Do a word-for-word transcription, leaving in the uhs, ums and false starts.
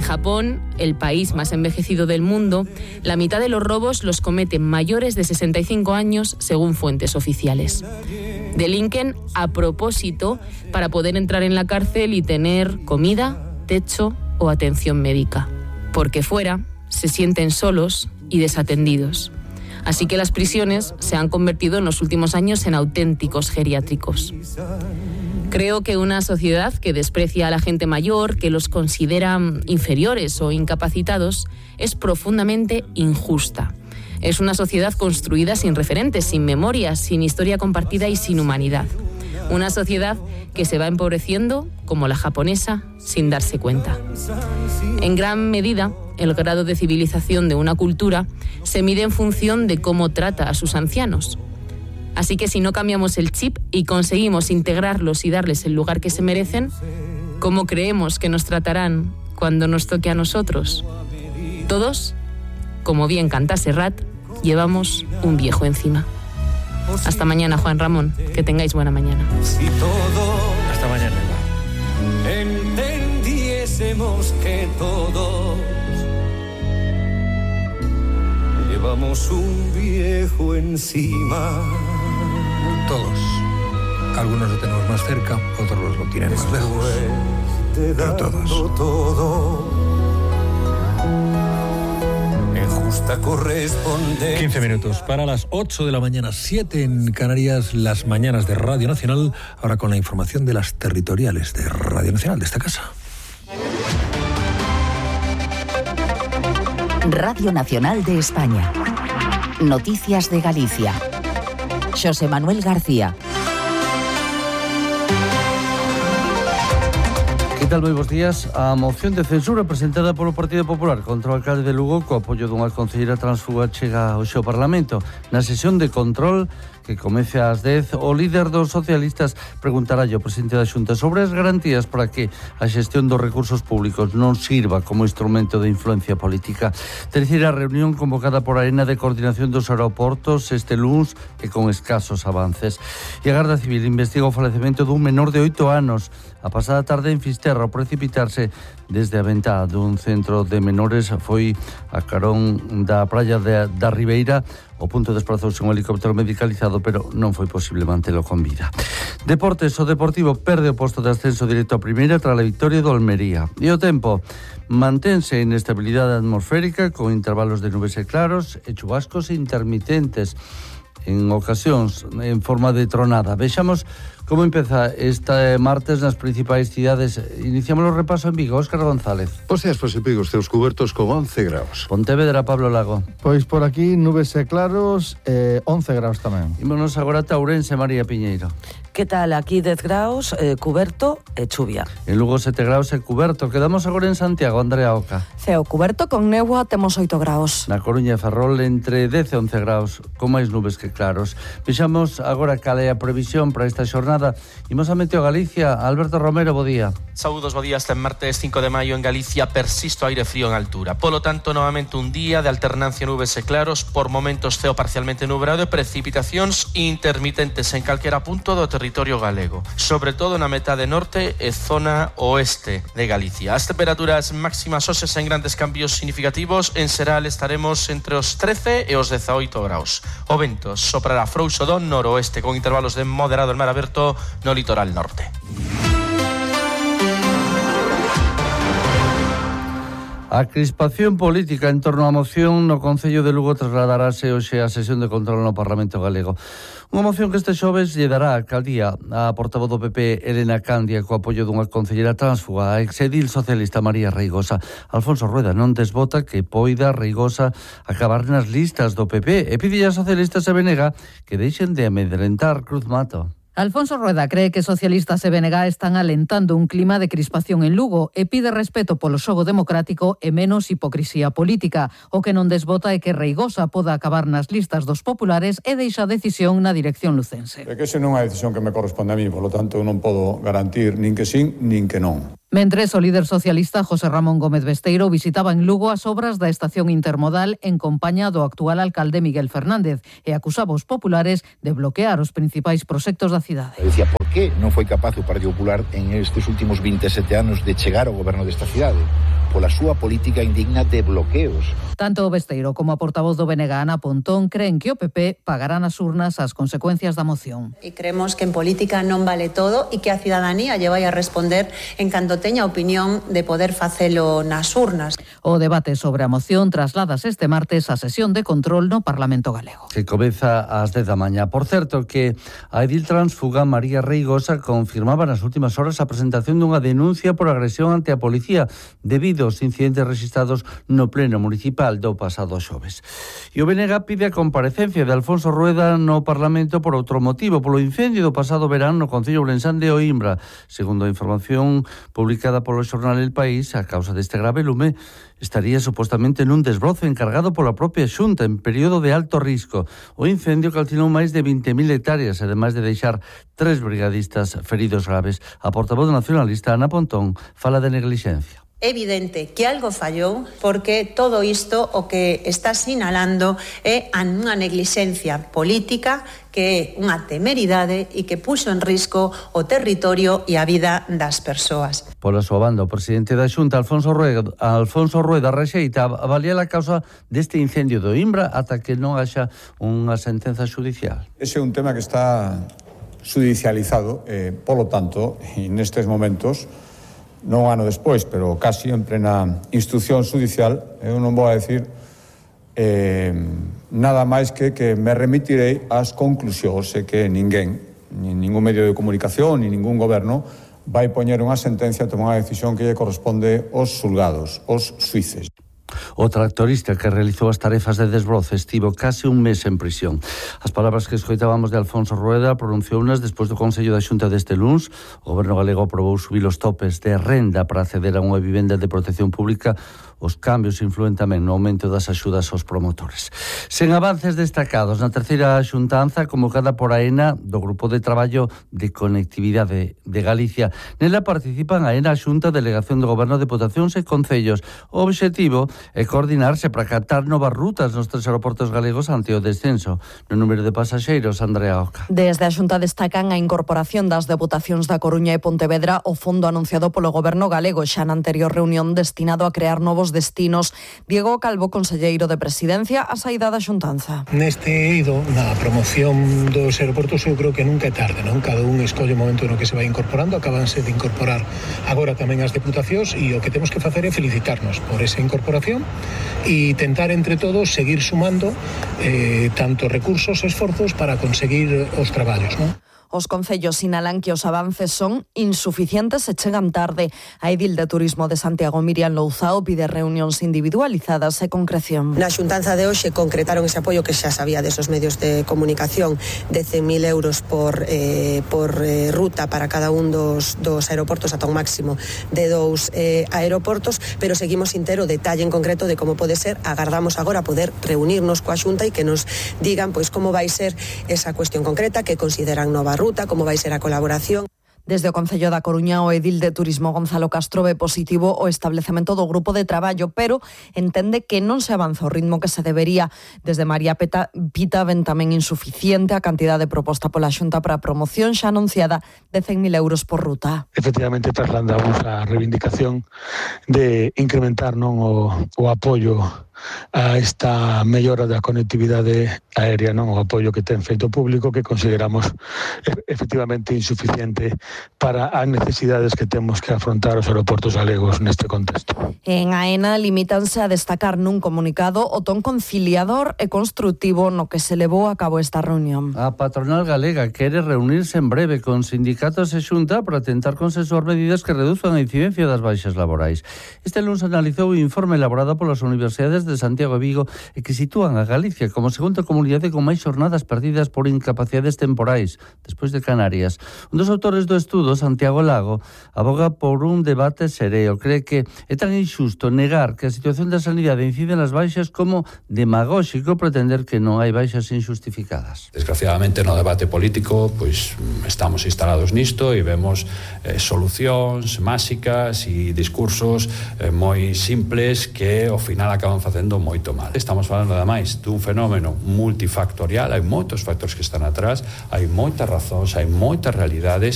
Japón, el país más envejecido del mundo, la mitad de los robos los cometen mayores de sesenta y cinco años, según fuentes oficiales. Delinquen a propósito para poder entrar en la cárcel y tener comida, techo o atención médica. Porque fuera se sienten solos y desatendidos. Así que las prisiones se han convertido en los últimos años en auténticos geriátricos. Creo que una sociedad que desprecia a la gente mayor, que los considera inferiores o incapacitados, es profundamente injusta. Es una sociedad construida sin referentes, sin memoria, sin historia compartida y sin humanidad. Una sociedad que se va empobreciendo, como la japonesa, sin darse cuenta. En gran medida, el grado de civilización de una cultura se mide en función de cómo trata a sus ancianos. Así que si no cambiamos el chip y conseguimos integrarlos y darles el lugar que se merecen, ¿cómo creemos que nos tratarán cuando nos toque a nosotros? Todos, como bien canta Serrat, llevamos un viejo encima. Hasta mañana, Juan Ramón. Que tengáis buena mañana. Si todos Hasta mañana. entendiésemos que todos llevamos un viejo encima. Todos. Algunos lo tenemos más cerca, otros lo tienen más lejos. Pero todos. Todo. Justa corresponde. quince minutos para las ocho de la mañana, siete en Canarias, las mañanas de Radio Nacional, ahora con la información de las territoriales de Radio Nacional, de esta casa. Radio Nacional de España. Noticias de Galicia. José Manuel García. Que tal, moi bons días. A moción de censura presentada polo Partido Popular contra o alcalde de Lugo co apoio dunha concelleira transfuga chega ao seu Parlamento. Na sesión de control que comece ás dez, o líder dos socialistas preguntará ao presidente da Xunta sobre as garantías para que a xestión dos recursos públicos non sirva como instrumento de influencia política. Terceira reunión convocada por Arena de coordinación dos aeroportos este luns e con escasos avances. E a Garda Civil investiga o falecemento dun menor de oito anos a pasada tarde en Fisterra ao precipitarse desde a ventá dun centro de menores. Foi a carón da praia de, da Ribeira. O punto desprazouse un helicóptero medicalizado, pero non foi posible mantelo con vida. Deportes, o Deportivo perde o posto de ascenso directo a primeira tras a victoria do Almería. E o tempo mantense en estabilidade atmosférica con intervalos de nubes e claros e chubascos intermitentes en ocasións en forma de tronada. Vexamos como empeza este martes nas principais cidades. Iniciamos o repaso en Vigo. Óscar González. Os días, pois, en Vigo, os teus cubertos con once graus. Pontevedra, Pablo Lago. Pois por aquí nubes e claros, eh, once graus tamén. Ímonos agora a Ourense, María Piñeiro. Que tal? Aquí dez graus, eh, cuberto e chuvia. En Lugo sete graus e cuberto. Quedamos agora en Santiago, Andrea Oca. Ceo cuberto con néboa, temos oito graus. Na Coruña e Ferrol entre dez e once graus, con máis nubes que claros. Vexamos agora cal é a previsión para esta xornada. Imos a Meteo Galicia. Alberto Romero, bo día. Saúdos, bo día. Este martes cinco de maio en Galicia persiste o aire frío en altura. Polo tanto, novamente un día de alternancia nubes e claros, por momentos ceo parcialmente nublado e precipitacións intermitentes en calquera punto do territorio galego, sobre todo na metade norte e zona oeste de Galicia. As temperaturas máximas hoxe sen grandes cambios significativos. En Seral estaremos entre os trece e os dezaoito graus. O vento soprará frouxo do noroeste con intervalos de moderado en mar aberto no litoral norte. A crispación política en torno á moción no Concello de Lugo trasladarase hoxe a sesión de control no Parlamento Galego. Unha moción que este xoves lle dará a alcaldía a portavoz do P P Elena Candia co apoio dunha concellera transfuga, a exedil socialista María Reigosa. Alfonso Rueda non desbota que poida Reigosa acabar nas listas do P P e pide a socialistas e Benega que deixen de amedrentar Cruz Mato. Alfonso Rueda cree que socialistas e B N G están alentando un clima de crispación en Lugo e pide respeto polo xogo democrático e menos hipocrisía política. O que non desbota é que Reigosa poda acabar nas listas dos populares e deixa a decisión na dirección lucense. É que ese non é a decisión que me corresponde a mí, polo tanto non podo garantir nin que sí, nin que non. Mentres, o líder socialista José Ramón Gómez Besteiro visitaba en Lugo as obras da estación intermodal en compañía do actual alcalde Miguel Fernández e acusaba os populares de bloquear os principais proxectos da cidade. Decía, por que non foi capaz o Partido Popular en estes últimos veinte e sete anos de chegar ao goberno desta cidade? pola súa política indigna de bloqueos. Tanto Besteiro como a portavoz do B N G, Ana Pontón, creen que o P P pagará nas urnas as consecuencias da moción. E creemos que en política non vale todo e que a cidadanía lle vai a responder en canto teña opinión de poder facelo nas urnas. O debate sobre a moción trasladas este martes á sesión de control no Parlamento galego. Que comeza ás dez da mañá. Por certo, que a edil transfuga María Reigosa confirmaba nas últimas horas a presentación dunha denuncia por agresión ante a policía debido aos incidentes registrados no pleno municipal do pasado xoves. E o B N G pide a comparecencia de Alfonso Rueda no Parlamento por outro motivo, polo incendio do pasado verán no Concello Ourensán de Oimbra. Segundo a información publicada polo xornal El País, a causa deste grave lume estaría supostamente nun desbrozo encargado pola propia Xunta en período de alto risco. O incendio calcinou máis de vinte mil hectáreas, ademais de deixar tres brigadistas feridos graves. A portavoz nacionalista Ana Pontón fala de neglixencia. É evidente que algo fallou porque todo isto o que está sinalando é unha neglixencia política que é unha temeridade e que puxo en risco o territorio e a vida das persoas. Pola súa banda, o presidente da Xunta, Alfonso Rueda, Alfonso Rueda rexeita avaliar a causa deste incendio do Oimbra ata que non haxa unha sentenza xudicial. Ese é un tema que está judicializado, eh, polo tanto, e nestes momentos, non un ano despois, pero casi en plena instrucción judicial, eu non vou a decir eh, nada máis que que me remitirei ás conclusións e que ninguén, nin ningún medio de comunicación, nin ningún goberno vai poñer unha sentencia, tomar unha decisión que lle corresponde aos xulgados, aos xuíces. O tractorista que realizou as tarefas de desbroce estivo case un mes en prisión. As palabras que escoitábamos de Alfonso Rueda pronunciounas despois do Consello da Xunta deste luns. O Goberno galego aprobou subir os topes de renda para acceder a unha vivenda de protección pública. Os cambios influen tamén no aumento das axudas aos promotores. Sen avances destacados na terceira xuntanza convocada por AENA do Grupo de Traballo de Conectividade de Galicia. Nela participan AENA, a Xunta, Delegación do Goberno, Deputacións e Concellos. O obxectivo é coordinarse para captar novas rutas nos tres aeroportos galegos ante o descenso no número de pasaxeiros. Andrea Oca. Desde a Xunta destacan a incorporación das Deputacións da Coruña e Pontevedra ao fondo anunciado polo Goberno galego xa na anterior reunión destinado a crear novos destinos. Diego Calvo, conselleiro de Presidencia, a saída da xuntanza. Neste eido, na promoción dos aeroportos, eu creo que nunca é tarde, non? Cada un escolle o momento no que se vai incorporando, acabanse de incorporar agora tamén as deputacións e o que temos que facer é felicitarnos por esa incorporación e tentar entre todos seguir sumando eh, tanto recursos e esforzos para conseguir os traballos, non? Os concellos sinalan que os avances son insuficientes e chegan tarde. A edil de Turismo de Santiago, Miriam Louzao, pide reunións individualizadas e concreción. Na xuntanza de hoxe concretaron ese apoio que xa sabía desos medios de comunicación de cen mil euros por, eh, por eh, ruta para cada un dos, dos aeroportos ata un máximo de dous eh, aeroportos, pero seguimos sin ter o detalle en concreto de como pode ser. Agardamos agora poder reunirnos coa xunta e que nos digan pois como vai ser esa cuestión concreta, que consideran nova ruta, como vai ser a colaboración. Desde o Concello da Coruña, o edil de Turismo Gonzalo Castro ve positivo o establecemento do grupo de traballo, pero entende que non se avanza o ritmo que se debería. Desde María Peta, Pita ven tamén insuficiente a cantidade proposta pola Xunta para a promoción xa anunciada de cen mil euros por ruta. Efectivamente, trasladamos a reivindicación de incrementar non o, o apoio a esta mellora da conectividade aérea, non o apoio que ten feito público, que consideramos efectivamente insuficiente para as necesidades que temos que afrontar os aeroportos galegos neste contexto. En AENA limítanse a destacar nun comunicado o ton conciliador e construtivo no que se levou a cabo esta reunión. A patronal galega quere reunirse en breve con sindicatos e Xunta para tentar consensuar medidas que reduzcan a incidencia das baixas laborais. Este lunes analizou o informe elaborado polas universidades de Santiago e Vigo e que sitúan a Galicia como segunda comunidade con máis xornadas perdidas por incapacidades temporais, despois de Canarias. Un dos autores do estudo, Santiago Lago, aboga por un debate sereo. Cree que é tan injusto negar que a situación da sanidade incide nas baixas como demagóxico pretender que non hai baixas injustificadas. Desgraciadamente no debate político pois estamos instalados nisto e vemos eh, solucións máxicas e discursos eh, moi simples que ao final acaban facendo moito mal. Estamos falando ademais dun fenómeno multifactorial, hai moitos factores que están atrás, hai moitas razóns, hai moitas realidades